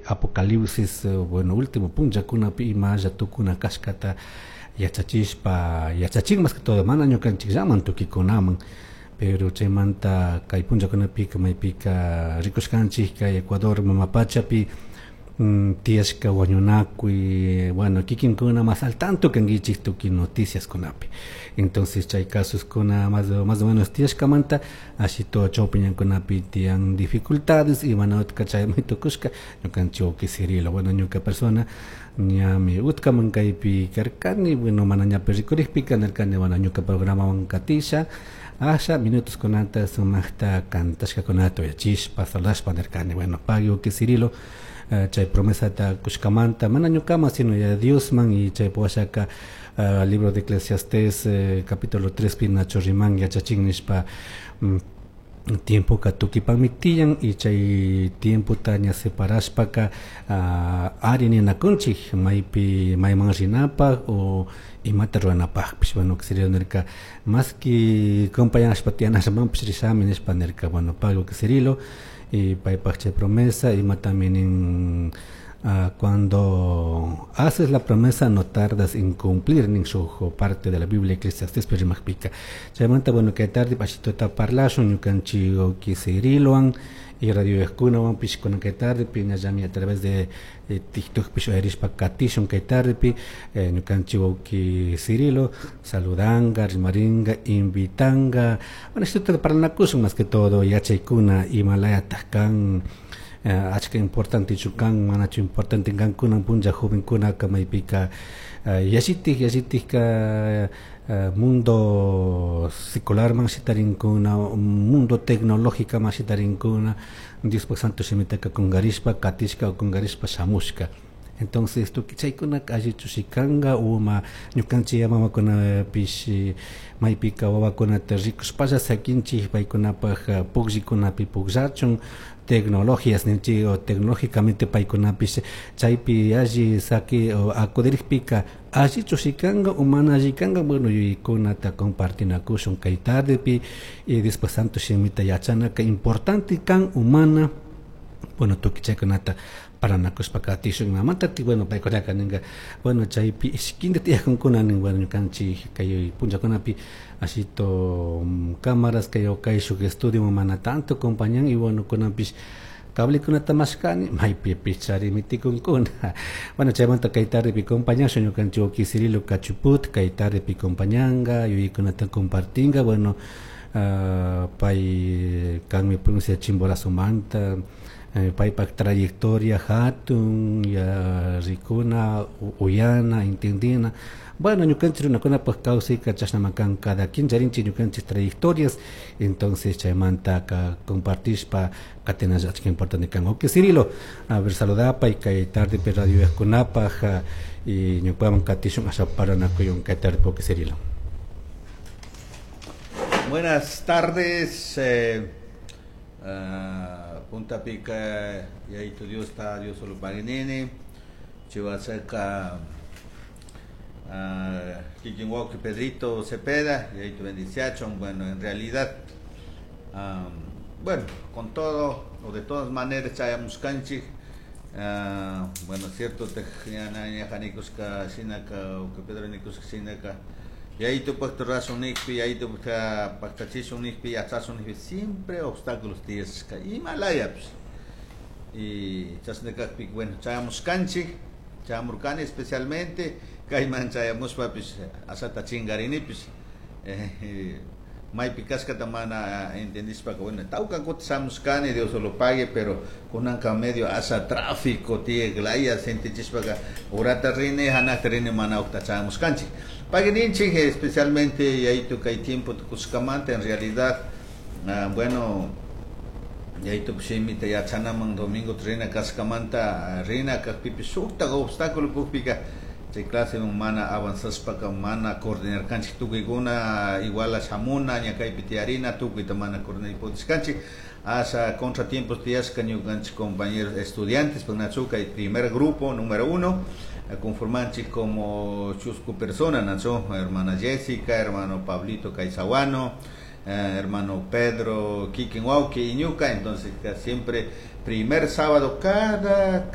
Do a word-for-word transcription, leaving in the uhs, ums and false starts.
Apocalipsis, bueno, último punllakunapi imalla tukuna kashkata yachachishpa yachachin, más que todo mana ñukanchikllaman, tukikunaman. Pero chaymanta kay punllakunapika maypika rikushkanchik kay Ecuador mama pachapi mm, tiyashka wañunakuy, bueno, kikinkuna más al tanto kankichik tukuy noticias kunapi. Entonces chay casoskuna más, más o menos tiyashkamanta ashito chawpi ñankunapi tiyan dificultades y mana utka chaymi tukushka ñukanchik wawki Cirilo. Bueno, ñuka persona ñami utkaman kaypi karkani, bueno, mana ñapi rikurikpika nirkani, bueno, ñuka programawan katisha asha minutos kunata sumakta kantashkakunata uyachishpa saludashpa nirkani. Bueno, pagui, wawki Cirilo, uh, chay promesata kushkamanta, mana ñukaman sino ya Diosman. Y chay washaka uh, libro de Eclesiastés eh, capítulo tres pi nacho riman yachachin nishpa mm, tiempoka tukipakmi tiyan y chay tiempota ña separashpaka uh, ari ninakunchik maypi mayman rinapak o imata ruranapakpish. Bueno, Cirilo nirka más que compañashpa tiyanashamanpish rishami nishpa nirka. Bueno, pagui, Cirilo, y paypak chay promesa imatami nin uh, cuando haces la promesa no tardas en cumplir, nin shuk parte de la Biblia Eclesiastés rimakpika. Chaymanta, bueno, kay tarde ashitota parlashun ñukanchik wawki Cirilowan y radio kunawanpish kunan kay tardepi ñallami a través de, de TikTok pish uyarishpa katishun kay tardepi eh, ñukanchik wawki Cirilo saludanga, rimaringa, invitanga. Bueno, ashitota parlanakushun más que todo yachaykuna imalayatak kan, uh, achka importantechu kan, manachu importante kan kunan punlla jovenkunaka maypika uh, yallitik yallitikka uh, mundo secularman shitarinkuna, mundo tecnológicaman shitarinkuna, Diospak santo shimitaka kungarishpa katishka o kungarishpa shamushka. Entonces tukuy chaykunaka allichu kanka uma ñukanchik mamakunapish maypika wawakunata rikushpalla sakinchik paykunapak pukllikunapi pukllachun, tecnologías ninchik o tecnológicamente paykunapish chaypi alli saki o acudirikpika allichu kanka o mana alli kanka. Bueno, yuyaykunata compartinakushun kay tardepi y después santo shimita yachanaka importante kan o mana. Bueno, tukuy chaykunata parlanakushpa katishun. Imamanta, bueno, paykunaka ninka, bueno, chaypi ishkinta tiyakunkuna nin. Bueno, ñukanchik kay punllakunapi ashito cámaras kay kayshuk estudio mana tanto acompañan y bueno, kunanpish cablekunata mashkani maypipish chari mitikunkuna. Bueno, chaymanta kay tardepi compañashun ñukanchik wawki Cirilo Cachuput, kay tardepi compañanga, yuyaykunata compartinga. Bueno, uh, pay kanmi provincia Chimborazomanta, eh, paypak trayectoria hatun ya rikuna, uyana, entendina. Bueno, ñukanchik runakunapak kawsayka chashnama kan, cada quien charinchik ñukanchik trayectorias. Entonces chaymanta ka compartishpa katinalla achka importante kan. Ok, Cirilo, a ver, saludapay kay tardepi radio kunapaj y ñukaman katishun asha paranakuyun kay tarde, wawki Cirilo. Buenas tardes, eh, uh, Punta Pica, Yaito Dios está, Dios solo paginini, Chihuaseca, uh, Kikinwauki Pedrito Cepeda, Yaito bendiciachon. Bueno, en realidad, um, bueno, con todo, o de todas maneras, chayamuskanchik, uh, bueno, cierto, te ñajanikuska, shinaka, o que Pedro nikuska, shinaka, Yaito pakta razón nikpi, yaito paktachishun nikpi, yachasun nikpi, siempre obstáculos tiyashka, Himalaya, pues. Y chasnakakpi, bueno, chayamuskanchik, chayamurkani especialmente, kayman chayamushpapis, asata chingarinipis, eh, maypi kashkata mana entendishpaka, bueno, tawka kutin shamushkani, Dios lo pague, pero kunanka medio asa tráfico tiyak sentichishpaka, urata rini, hanakta rini mana ukta chayamushkanchik. Paguininchik, especialmente yaito kay tiempo tukushkamanta, en realidad, uh, bueno, yaito shimita yachanaman domingo rina kashkamanta, rina kakpipish shuktak obstáculo kukpika, chay clase mana avanzashpaka mana coordinarkanchik tukuykuna igual shamuna ña kaypi tiyarina tukuyta mana coordinar pudishkanchik asa contratiempos tiyashka ñukanchik compañeros estudiantes pues nachu kay primer grupo número uno conformanchik como chusku persona nachu hermana Jessica, hermano Pablito Caizahuano, eh, hermano Pedro Kikinwauki y ñuka. Entonces siempre Primer sábado cada